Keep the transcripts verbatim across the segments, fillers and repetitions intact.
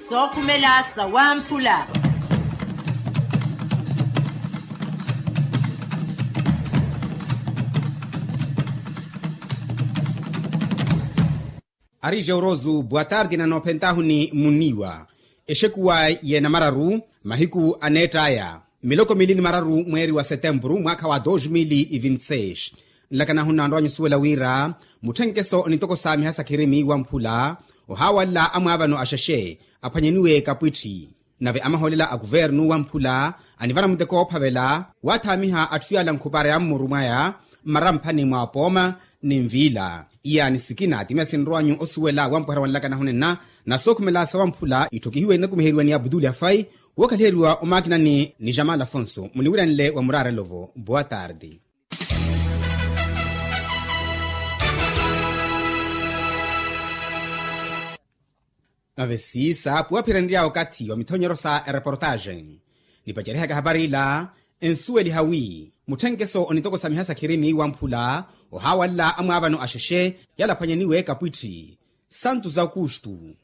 Sookhumela sa wamphula. Ari jeurosu boa tarde na noophentahuni munniiwa. Exekuwa y'enamararu mahiku aneett'aya miloko miili ni mararu mweeri wa setempuru mwaakha wa dos mil e vinti seis. Nlakanahu nnaanrwanyu osuwela wira mutthenkeso onitokosamiha sa khirimi wamphula ohaawalla amwaavano axexe aphwanyeniwe kapwitthi. Nave amahoolela a kuvernu wamphula anivara muteko woophavela waathaamiha atthu yaala nkhupara ya mmuru mwaya mmaramphani mwa pooma ni nviila. Iyaani sikina timiya sinrwanyu osuwela wampwehera wa nlakanahu nenna na sookhumela sa wamphula itthokihiwe inakumiheriwa ni abduli afai wookhaliheriwa omaakinani ni jamal afonso muniwiranle wa muraarelo-vo boa tarde. Nave siisa puwaphirenrya okathi wa mithonyero sa ereportaxe nipacerihaka hapari ila ensuweliha wi mutthenkeso onitokosamiha sa khirimi wamphula ohaawalla amwaavano axexe yaala aphwanyaniwe kapwitthi santu za okustu.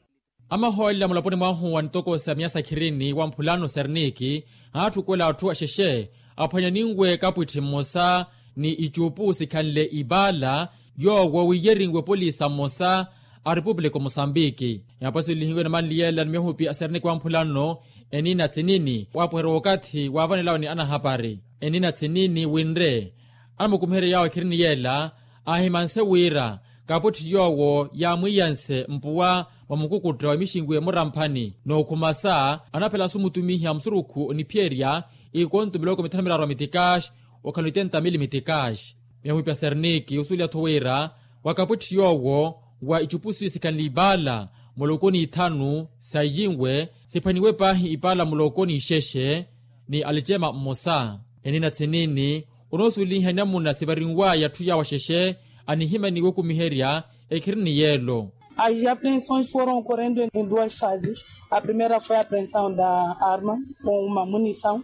Amahoolela mulaponi mwahu wa nitokosamiha sa khirimi wamphulano serniki aatthukuwela atthu axexe aphwanyaninwe kapwitthi mmosa ni icuupu sikhanle ipaala yoowo wiyerinwe polisa mmosa a repupulika o mosambiki. Yaapasulihiwe namanli yeela ni mihupi a serniki wamphula nno enina tsinini waapuherya okathi waavanelawe ni anahapari enina tsinini winre anamukumiherye yaawo ekhirini yeela aahimanse wira kapwitthi yoowo yaamwiiyanse mpuwa mwa mukukutta wa mixinwi emuramphani nookhumasa anaphela sumutumiha musurukhu oniphiyerya ikonto miloko mithanu miraru a mitikaxi okhala oitenta mili mitikaxi. Miyamuhipya serniki osuweliha-tho wira wa kapwitthi yoowo wa icupusu isikhanle ipaala muloko ni ithanu sa iyinwe siphwaniwe paahi ipaala muloko ni ixexe ni alicema mmosa enina tsinini onoosuweliha inamuna sivarinwaya atthu yaawo axexe anihimaniwe okumiherya ekhirini yeelo. As apreensões foram ocorrendo em duas fases. A primeira foi a apreensão da arma com uma munição.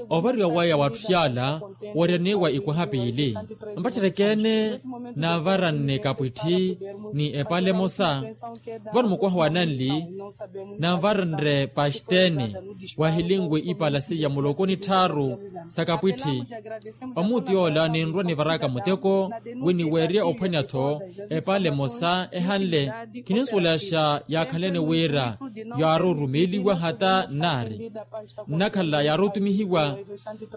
Ovariwa waya wa atthu yaala owariyaniwa ikwaha piili mpacereke-ene naavaranne kapwitthi ni epaala emosa vano mukwaha wa nanli naavaranre paxtene wahilinwe ipaala seiya muloko ni tthaaru sa kapwitthi. Omuutu yoola ninrwa nivaraka muteko wi niweerye ophwanya-tho epaala emosa ehanle. Khininsuwelaxa yaakhalene wira yaari orumeeliwa hata nnaari nnakhala yaari otumihiwa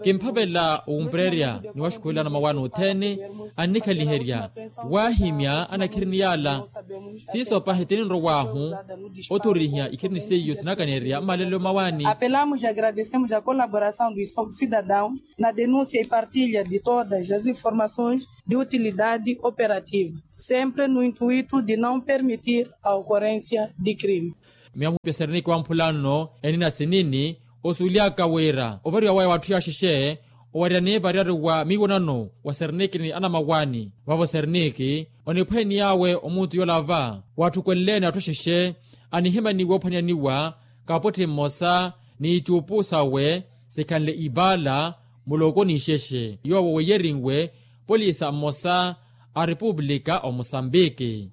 kimphavela owumpererya ni waxukuwelana mawaani othene annikhaliherya waahimya anakhirini yaala. Siiso pahi tininrow'ahu othorihiya ikhirini seiyo sinakaneerya mmalelo mawaani. Apelamos e agradecemos a colaboração dos cidadãos na denúncia e partilha de todas as informações de utilidade operativa sempre no intuito de não permitir a ocorrência de crime. Miyamuhipya serniki wamphula nno enina tsinini osuwelihaka wira ovariwa waya wa atthu yaaxexe owariyani variyari wa miiwonano wa serniki ni anamawaani vavo serniki oniphweeniy'awe omuutu yoola va watthukweleleene atthu axexe anihimaniwe ophwanyaniwa kapwitthi mmosa ni icuupu sawe sikhanle ipaala muloko ni ixexe yoowo weiyerinwe polisa mmosa a repupulika o mosambiki.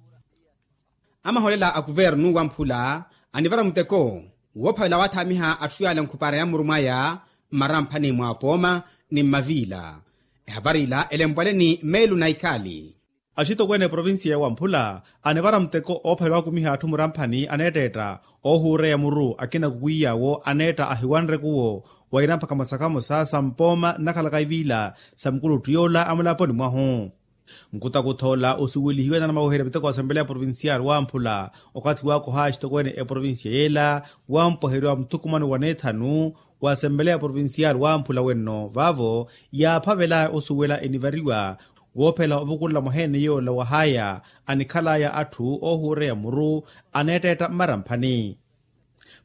Amahoolela a kuvernu wamphula anivara muteko woophavela waathaamiha atthu yaala nkhupara ya mmuru mwaya mmaramphani mwa pooma ni mmaviila. Ehapari ila elempwale ni meelu na ikhaali. Axitokweene eprovincia ya wamphula anivara muteko oophavela waakumiha atthu muramphani aneetteetta oohuureya muru akina kukwiy'awo aneetta ahiwanre kuwo waira mpakha mosakhamosa sa mpooma nnakhalaka iviila sa mukuluttu yoola amulaponi mwahu. Nkutakutha ola osuwelihiwe na anamaweherya miteko wa asempeleya provincial wamphula okathi waakoha axitokweene eprovincia yeela wampweheriwa muthukumano wa neethanu wa asempeleya provincial wamphula wenno vaavo yaaphavelaya osuwela enivariwa woophela ovukulela mwaheene yoola wahaya anikhalaya atthu oohuureya muru aneetteetta mmaramphani.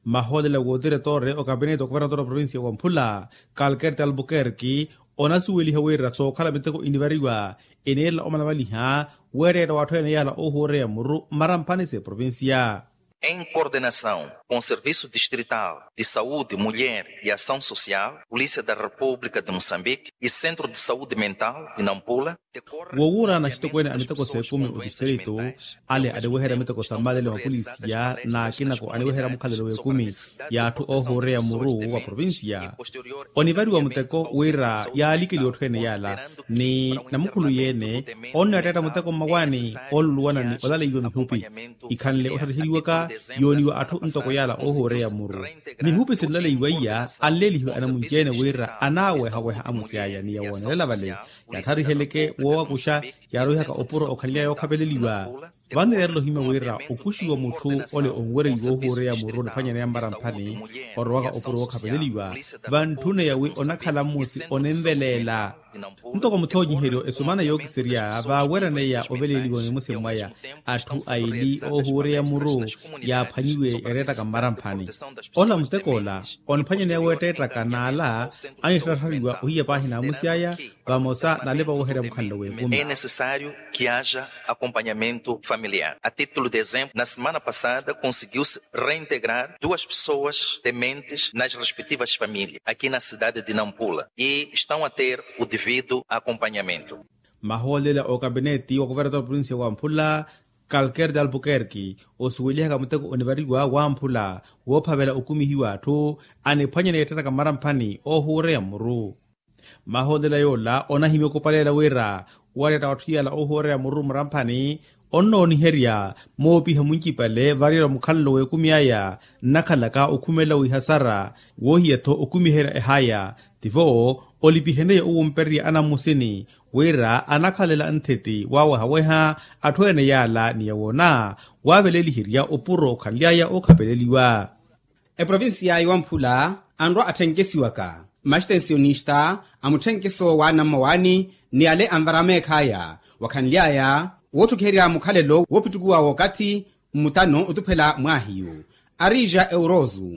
Mahoolela w'otiretore okapineti okovernator wa provincia wamphula kalkerte albuquerque onasuweliha wira sookhala miteko inivariwa eneerela omalamaliha weetteetta w'atthu ene yaala oohuureya muru mmaramphani s'eprovincia. Em coordenação com serviço distrital de saúde mulher e ação social, polícia da república de moçambique, e centro de saúde mental de nampula. Wowuura na axitokweene a miteko s'ekumi otistrito ale aniweherya miteko sa mmalele mapolisiya n'akinako aniweherya mukhalelo w'ekumi y'atthu oohuureya muru wa provincia. Onivariwa muteko wira yaalikeliwa otthu ene yaala ni namukhulu yeene onneetteetta muteko mmawaani ooluluwana ni olaleiwa mihupi ikhanle ottattheliwaka yooniwa atthu ntoko yaala oohuureya muru. Mihupi sinlaleiwa iya anleelihiwe anamunci-ene wira anaawehaweha amusi aya ni yawoonelela vale yatthariheleke woowakuxa. Yaaroihaka opuro okhanly'aya ookhapeleliwa vannereerela ohimya wira okuxiwa mutthu ole onwereiwa ohuureya muru niphwanyaneya mmaramphani orowaka opuro wookhapeleliwa vantthune yawi onakhala mmusi oninveleela. Ntoko muthoonyiheryo esumana yookiserya vaaweeraneya oveleeliwa nimusi mwaya atthu aili oohuureya muru yaaphwanyiwe yareettaka mmaramphani. Ola mutek'ola oniphwanyaneya weetteettaka n'ala anittatthariwa ohiya paahi n'amusi aya vamosa n'alepa wooherya mukhanlo w'ekumi. É necessário que haja acompanhamento familiar. A título de exemplo, na semana passada conseguiu-se reintegrar duas pessoas dementes nas respectivas famílias aqui na cidade de nampula e estão a ter o devido acompanhamento. Mahoolela okapineti wa kuvereta oprovincia wa mphula kalker de albuquerque osuwelihaka muteko onivariwa wa mphula woophavela okumihiwa atthu aniphwanyane yeettettaka mmaramphani oohuureya muru. Mahoolela yoola onahimya okupaleela wira wareetta watthu yaala oohuureya muru mmaramphani onnooniherya moopiha muncipale variyerya mukhalelo w'ekumi aya nnakhalaka okhumelela wihasara woohiya-tho okumiherya ehaya. Tivo olipiheneya owumpererya anammusini wira anakhalela nthiti waawehaweha atthu ene yaala ni yawoona waaveleliherya opuro okhanly'aya ookhapeleliwa. Eprovincia ya wamphula anrwa attthenkesiwaka maxtensionista a mutthenkeso w'anammawaani ni ale anvara meekh'aya wakhanly'aya wootthukiherya mukhalelo woopittukuwa w'okathi mmutano otuphela mwaahiyu arija eurozu.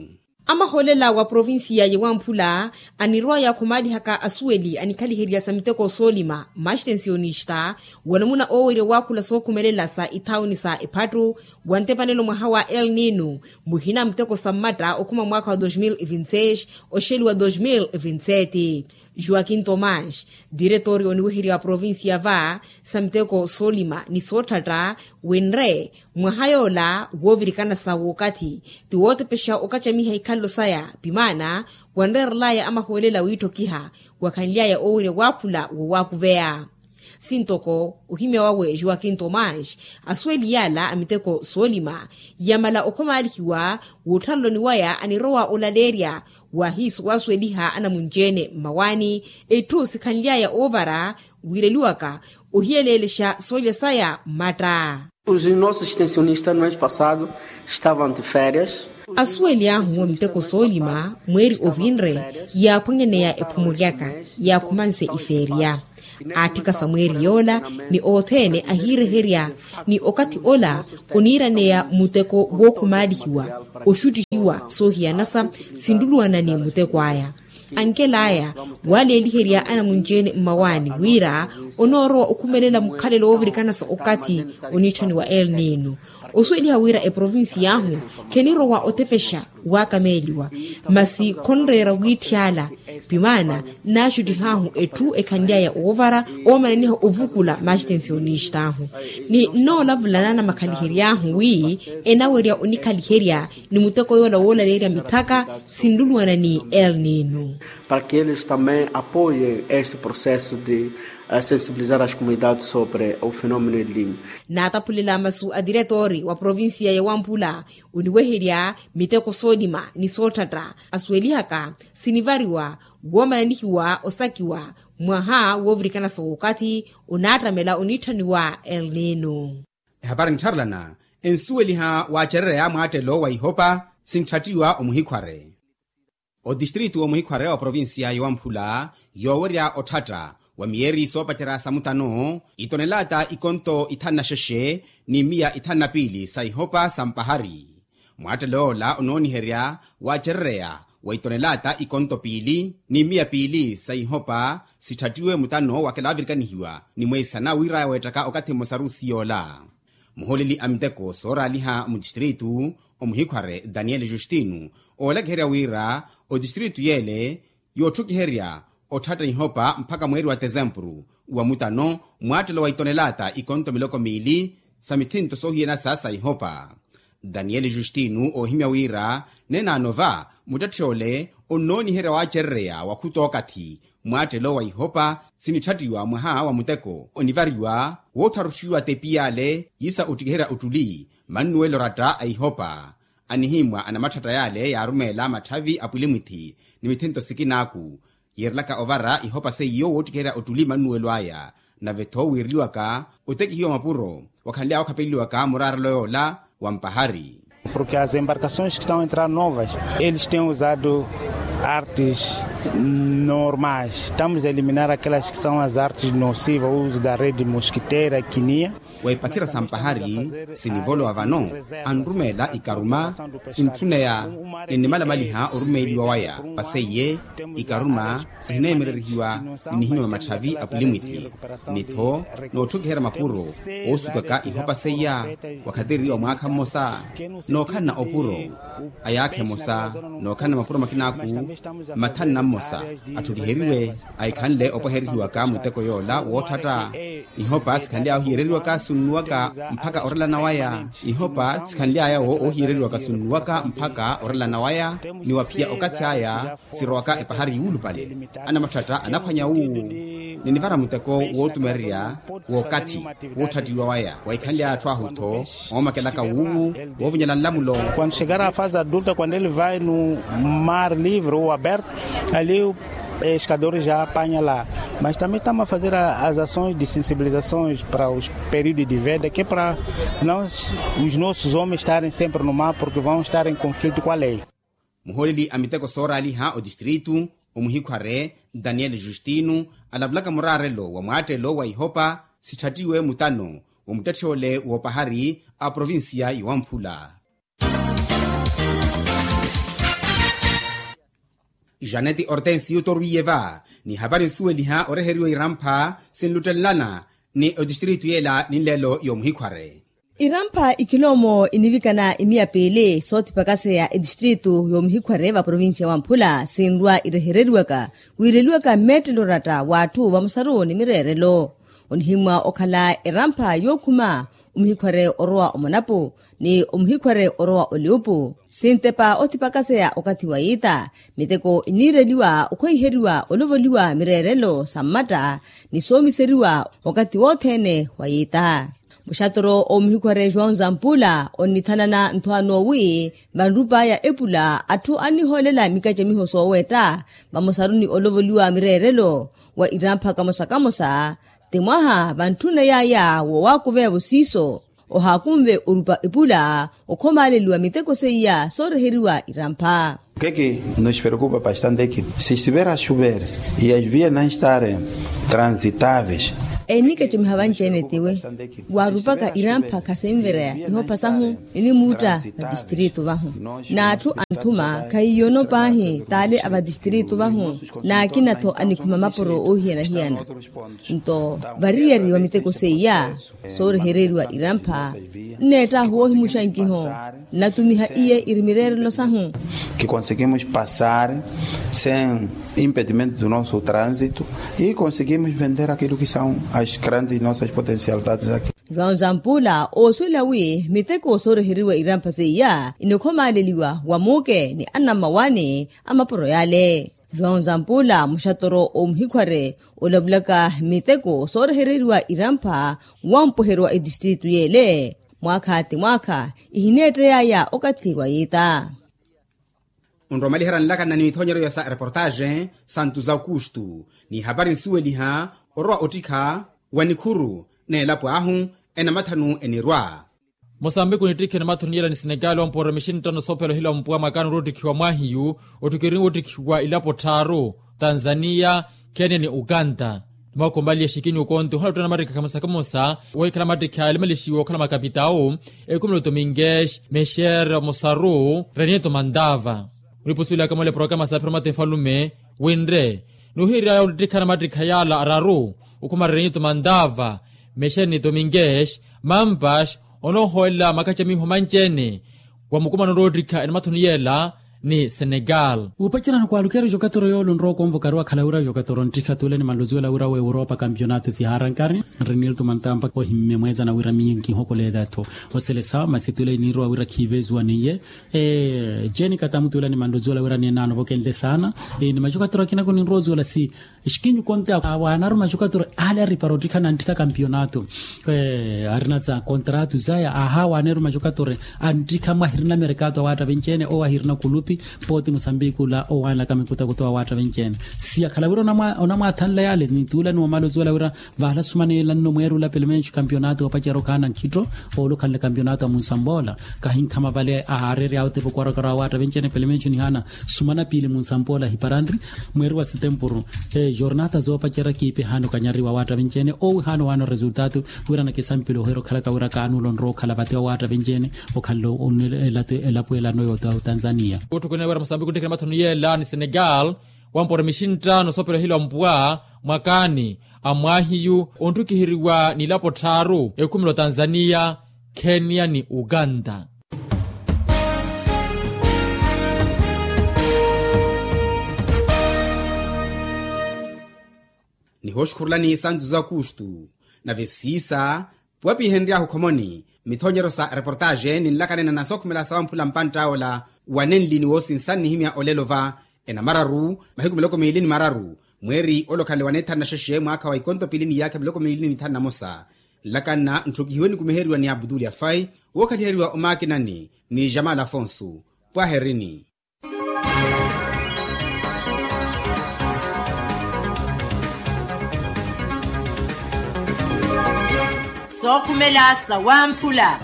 Amahoolela wa provincia ya wamphula anirwaya khumaalihaka asuweli anikhaliherya sa miteko soolima maxtensionista wanamuna oowerya waakhula sookhumelela sa ithauni sa ephattu wa ntepanelo mwaha wa el nino muhina muteko sa mmatta okhuma mwaakha wa dos mil vinti seis oxeliwa dos mil vinti sete. Joaquim tomás, diretori oniweherya wa provincia va sa miteko soolima ni sootthatta wenre mwaha yoola woovirikana sa wookathi ti wootepexa okacamiha ikhalelo saya pimaana wanreerelaya amahoolela wiitthokiha wakhanly'aya oowerya waakhula wowaakuveya. Sintoko ohimya wawe joaquim tomás asuweli yaala a miteko soolima yamala okhomaalihiwa wootthaloloni waya anirowa olaleerya waahiisu waasuweliha anamunci-ene mmawaani etthu sikhanly'aya oovara wiireliwaka ohiyeleelexa soolya saya mmatta. Os nossos extensionistas no mês passado estavam de férias. Asuweli ahu wa miteko soolima mweeri ovinre yaaphwanyaneya ephumulyaka yaakhumanse ifeeriya aatthika sa mweeri yoola ni othene ahiireherya ni okathi ola oniiraneya muteko wookhumaalihiwa oxuttihiwa soohiyanasa sinluluwana ni muteko aya ankel'aya waaleeliherya anamunci-ene mmawaani wira onoorowa okhumelela mukhalelo woovirikanasa okathi oniitthaniwa el nino osuweliha wira eprovincia ahu khenirowa otepexa waakameeliwa masi khonreera wiitthi ala pimaana naaxuttih'ahu etthu ekhanly'aya oovara oomananiha ovukula maxtensionista ahu ni nnoolavulana na makhaliheryo ahu wi enawerya onikhaliherya ni muteko yoola woolaleerya mitthaka sinluluwana ni el nino. Para que eles também apoiem este processo de sensibilizar as comunidades sobre o fenômeno el nino. Naataphulela masu a diretori wa provincia ya wamphula oniweherya miteko soolima ni sootthatta asuwelihaka sinivariwa woomananihiwa osakiwa mwaha woovirikanasa wookathi onaattamela oniitthaniwa el nino. Ehapari nttharelana ensuweliha waacerereya mwaattelo wa ihopa sinttattiwa omuhikhware otistritu omuhikhware wa provincia ya wamphula yoowerya otthatta wa miyeeri soopacerya sa mutano itonelaata ikonto ithanu na xexe ni miya ithanu na piili sa ihopa sa mpahari. Mwaattelo yoola onooniherya waacerereya wa itonelaata ikonto piili ni miya piili sa ihopa sitthattiwe mutano wakela avirikanihiwa ni mweisana wiiraya weettaka okathi mmosa rusi yoola. Muhooleli a miteko sooraaliha mutistritu omuhikhware daniel justino oolakiherya wira otistritu yeele yootthukiherya otthatta ihopa mpakha mweeri wa tesempuru wa mutano mwaattelo wa itonelaata ikonto miloko miili sa mithinto soohiyana saasa ihopa. Daniel justino oohimya wira nenaano va muttetthi ole onnooniherya waacerereya wakhuta okathi mwaattelo wa ihopa sinitthattiwa mwaha wa muteko onivariwa woottharuxiwa tepiyale yisa ottikiherya ottuli mannuwelo oratta a ihopa. Anihimwa anamatthata yale yaarumeela matthavi a pwilimwithi ni mithinto sikinaaku yeerelaka ovara ihopa seiyo woottikiherya ottuli mannuwelo aya nave-tho wiireliwaka otekihiwa mapuro wakhanly'aya okhapeleliwaka muraarelo yoola wa mpahari. Porque as embarcações que estão a entrar novas, eles têm usado artes normais. Estamos a eliminar aquelas que são as artes nocivas, o uso da rede mosquiteira, quinia. Wa ipathira sa mpahari sinivolowa vano anrumeela ikaruma sintthuneya ni nimalamaliha orumeeliwa waya paseiye ikaruma sihineemererihiwa ni nihimya mamatthavi a pwilimwithi ni-tho nootthukiherya mapuro oosukaka ihopa seiya wakhatiririwa mwaakha mmosa nookhalana opuro a yaakha emosa nookhalana mapuro makinaaku mathanna mmosa atthukiheriwe ahikhanle opweherihiwaka muteko yoola wootthatta. Ihopa sikhanly'aya ohiyereriwaka sunnuwaka mpakha orelana waya ihopa sikhanly'aya wo oohiyereriwaka sunnuwaka mpakha orelana waya ni waphiya okathi aya sirowaka epahari yuulupale anamatthata anaphwanya wuwu ni nivara muteko wootumererya w'okathi wootthattiwa waya wahikhanly'aya atthu ahu-tho oomakelaka wuwu woovinyela nlamulo. Quando chegar à fase adulta, quando ele vai no mar livre ou aberto, ali o pescador já apanha lá. Mas também estamos a fazer as ações de sensibilizações para os períodos de veda, que é para nós, os nossos homens estarem sempre no mar, porque vão estar em conflito com a lei. Muhooleli a miteko sooraaliha otistritu omuhikhware daniel justino alavulaka muraarelo wa mwaattelo wa ihopa sitthattiwe mutano wa muttetthi ole woopahari a provincia yowamphula. Janeti ortensi yuutorwiye va ni hapari nsuweliha oreheriwa irampha sinluttelelana ni otistritu yeela ni nlelo yoomuhikhware. Irampha ikiloomo inivikana imiya piili soothipakaseya etistritu yoomuhikhware va provincia wamphula sinrwa irehereriwaka wiireliwaka mmeettelo oratta w'atthu vamosaru ni mireerelo. Onihimwa okhala erampha yookhuma omuhikhware orowa omonapu ni omuhikhware orowa oliupu sintepa othipakaseya okathi wa yiita miteko iniireliwa okhweiheriwa olovoliwa mireerelo sa mmatta ni soomiseriwa okathi wothene wa yiita. Muxatoro omuhikhware joão zampula onnithanana nthwaano wi vanrup'aya epula atthu annihoolela mikacamiho sooweetta vamosaru ni olovoliwa mireerelo wa irampha kamosa kamosa ti mwaha vantthuney'aya woowakuveya-vo siiso ohaakunve orupa epula okhomaaleliwa miteko seiya sooreheriwa irampha. O que que nos preocupa bastante é que se estiver a chover e as vias não estarem transitáveis. Enikecemiha vanci-ene tiwe waarupaka irampha khasinvereya ihopa sahu inimuutta vatistritu vahu n'atthu anthuma khahiyono paahi taale a vatistritu vahu n'akina-tho anikhuma mapuro oohiyana-hiyana. Nto variyari va miteko seiya soorehereriwa irampha nneettaahu woohimuxa nkiho nnatumiha iye iri mireerelo sahu. Que conseguimos passar sem impedimento do nosso trânsito e conseguimos vender aquilo que são as grandes nossas potencialidades aqui. João zampula oosuwela wi miteko sooreheriwa irampha seiya inikhomaaleliwa wa muuke ni anammawaani a mapuro yale. João zampula muxatoro omuhikhware olavulaka miteko soorehereriwa irampha wampweheriwa etistritu yeele mwaakha ti mwaakha ihineettey'aya okathi wa yiita. Onromalihera nlakana ni mithonyeryo sa reportaxe santu za aukustu ni hapari nsuweliha orowa ottikha wa nikhuru n'elapo ahu enamathanu enirwa. Mosambiku nittikhe namathanu yela ni senekali wampoora mixini ttano soophela ohila mpuwa makano ori ottikhiwa mwahiyu ottikhiwa ilapo tthaaru tanzaniya kenya ni uganda. Ni mwakombaliya xikini okonti ohala ottana mattikha kamosa kamosa wohikhala mattikha yalimalixiwa okhala makapitawu ekumelo tominges mexer mosaru renieto mandava. Onipusuwelaka mole programa sa phiramata enfalume winre nuhirya yawunttikhana mattikha yala araru okhuma renieto mandava mexer ni tominges mampas Onoohoolela makaca miiho manci-ene wa mukumano onroottikha enamathoni yeela ni senegal. Wuupacerya ni kwaalukeerya jokatoro yoole onrowa okonvokariwa akhala wira jokatoro nttikha tuulani manluzuwela wira wa europa kampionato sihaarankari. Nri nilto mantampa ohimme mweezana wira miyo nkihokoleela-tho. Oselesa masi tuulani niirowa wira khiivezuwa niye. Jeeni katamu tuulani manluzuwela wira niye naanovokenle saana. Ni majokatoro akina kuninrowa ozuwela si exikinyu konte awaanaru majokatoro ale aripara ottikha nanttikha kampionato. Arina za kontratu zaya ahawaneru majokatoro. Anttikha mwahirina merekato awaatta venci-ene owo ahirina kulupi. Pooti musambiki ula owaanlaka mikutakutau awaatta venci-ene. Si akhala wira onamwaathanla yale nituulani wamala ozuwela wira vahala sumaneela nno mweeri ula pelemencu kampionato oopacerya okhaana nkhitto. Oole okhanle kampionato a munsampoola kahinkha mavale ahaareerya awo tepo kwarokaro awaatta venci-ene pelemencu nihaana sumana piili munsampoola hiparanri. Mweeri wa setempuru jornata zoopacerya kiipi ehaana okanyariwa awaatta venci-ene owi haana owaana oresultato. Wira nakisampile ohiira okhalaka wira kaanuula onrowa okhala vate awaatta venci-ene. Okhanle onelato elapo elano yoota otanzania. Otthukunene wira musambiki onttikhana mathoni yeela ni senegal wampora mixintta nosoopela ohilwa mpwa mwakaani a mwaahiyu ontthukiheriwa n'ilapo tthaaru ekhumela otanzania, kenya ni uganda. Nihooxukhurulani santu za kustu nave siisa puwapihenryahu khomoni. Mithoonyeryo sa reportaxe ninlakanena na sookhumela sawamphula mpantta ola wanenli ni woosinsa nnihimya olelo va enamararu mahiku miloko miili ni mararu mweeri ole okhanle waneethanu na xexe mwaakha wa ikonto piili ni iyaakha miloko miili ni thanu na mosa. Nlakanna ntthukihiwe nikumiheriwa ni abdul yafai wookhaliheriwa omaakinani ni jamal afonso. Pwaherini. Sookhumela sawamphula.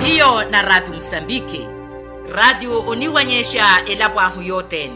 Hiyo na raatiyo musambiki. Raatiyo oniwanyexa elapo ahu yothene.